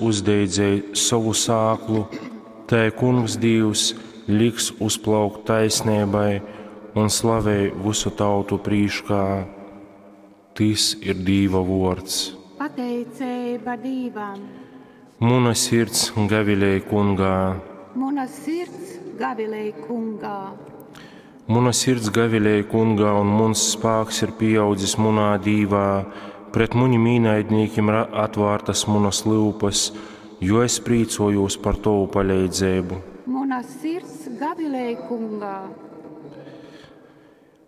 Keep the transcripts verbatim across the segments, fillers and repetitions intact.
uzdeidzej sovu sāklu, tai Kungs Dīvs liks uzplaukt taisneibai un slavei vysu tautu prīškā. Tys ir Dīva vuords. Pateiceiba Dīvam. Muna sirds gavilej Kungā. Muna sirds gavilej Kungā. Muna sirds gavilej Kungā, un muns spāks ir pīaudzis munā Dīvā. Pret munim īnaidnīkim ir atvārtas munas lyupas, jo es prīcojūs par tovu paleidzeibu. Muna sirds gavilej Kungā.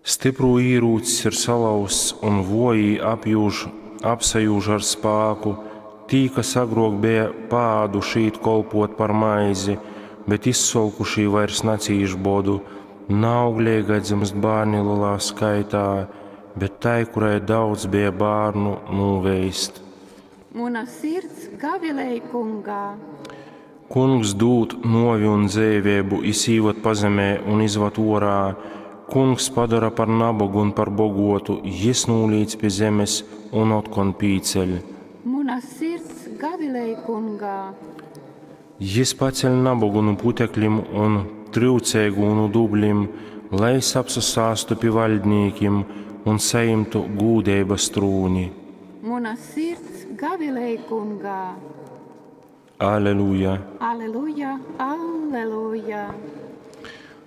Styprū īrūcis ir salauzts, un vojī apjūž, apsajūž ar spāku. Tī, kas agrok beja paāduši īt kolpot par maizi, bet izsolkušī vairs nacīš bodu. Naaugleigai dzymst bārni lielā skaitā, bet tai, kurai daudz beja bārnu, nūveist. Muna sirds gavilej Kungā. Kungs dūd nuovi un dzeiveibu, jis īvad pazemē un izvad uorā. Kungs padora par nabogu un par boguotu, jis nūlīc pi zemes un otkon pīceļ. Muna sirds gavilej Kungā. Jis paceļ nabogu nu puteklim un tryuceigū nu dublim, lai jis apsasāstu pi vaļdnīkim un sajimtu gūdeibas trūni. Muna sirds gavilej Kungā. Aleluja! Aleluja, aleluja!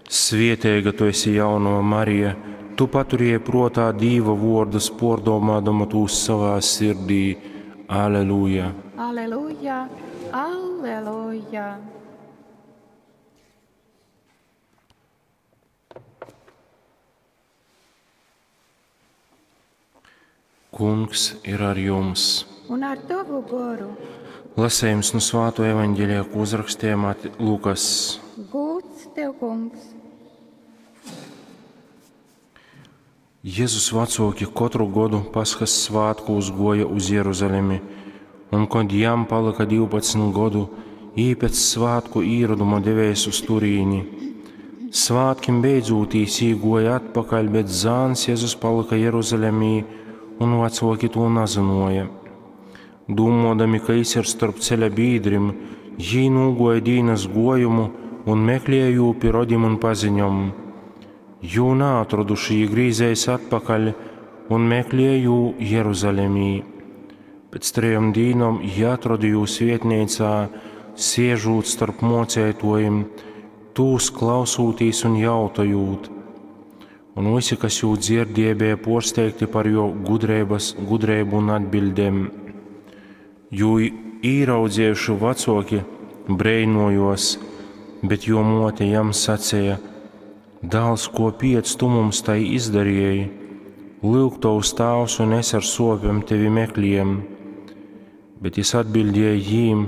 Svieteiga tu esi jaunova Marija, tu paturēji pruotā Dīva vuordus, puordomādama tūs savā sirdī. Aleluja! Aleluja, aleluja! Kungs ir ar jums! Un ar tovu goru. Lasējums no Svāto evaņģēlija, ko uzrakstīja Mati Lukas. Gūds tev, Kungs! Jēzus vecāki katru gadu Paskas svētkos goja uz Jeruzalemi, un kad jam palika divpadsmit godu, jī pēc svētku īroduma devēs uz turīni. Svētkim beidzūtīs jī goja atpakaļ, bet zāns Jēzus palika Jeruzalemī, un vecāki to nezināja. Dūmodami, ka jis ir starp ceļa bīdrim, jī nūgoja dīnas gojumu un meklēja jū pi rodim un paziņom. Jū naatroduši, jī grīzēs atpakaļ un meklēja jū Jeruzalemī. Pēc trejom dīnom jī atroda jū svietneicā, siežūt starp mocētojim, tūs klausūtīs un jautojūt. Un visi, kas jū dzirdēja, bija porsteigti par jo gudrības, gudrību un atbildēm. Jū īraudzējuši vecāki breinojos, bet jo mote jam sacīja: Dāls, ko piec tu mums tai izdarīji? Lūk, tavs tēvs un es ar sopēm tevi meklējam. Bet jis atbildēja jīm: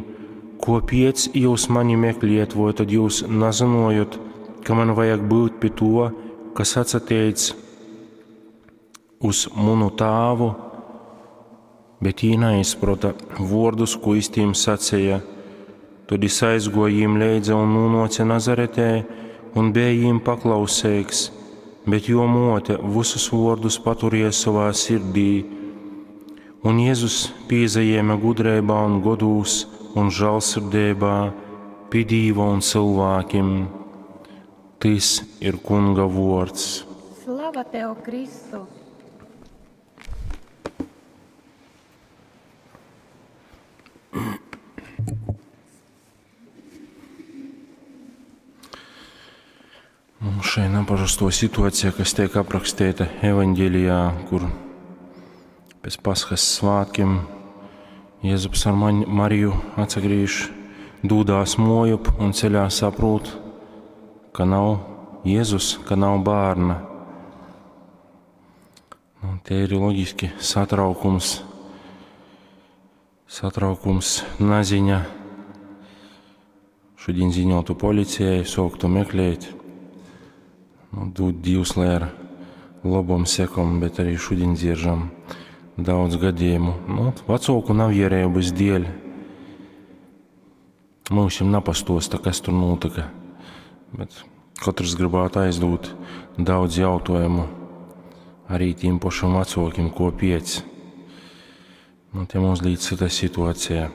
Ko piec jūs mani meklējat, vai tad jūs nezinājot, ka man vajag būt pie to, kas atsateic uz munu tēvu? Bet jī neizprota vārdus, ko jis tīm sacīja. Tad jis aizgoja jīm leidza un nonāca Nazaretē un bija jīm paklausīgs, bet jo mote visus vārdus paturēja savā sirdī. Un Jēzus pīzajēma gudrībā un godūs un žēlsirdībā pie Dīva un cilvēkiem. Tis ir Kunga vārds. Slava tev, Kristu! Mums šai neparasto situācija, kas tiek aprakstīta evaņģēlijā, kur pēc Paskas svētkiem Jēzus ar Mariju atsagriež, dūdās mojup un ceļā saprot, ka nav Jēzus, ka nav bērna. Nu, te ir loģiski satraukums, satraukums, naziņa. Šodien ziņotu policijai, sāktu meklēt. Nu, dod Dievs, lai ar labom sekom, bet arī šodien dzieržam daudz gadījumu. Nu, vecāku nav ierēbas dēļ. Mums jau napastosta, kas tur notika. Bet katrs gribētu aizdot daudz jautājumu arī tiem pašam vecākiem, ko piec. Nu, te mums līdz cita situācija.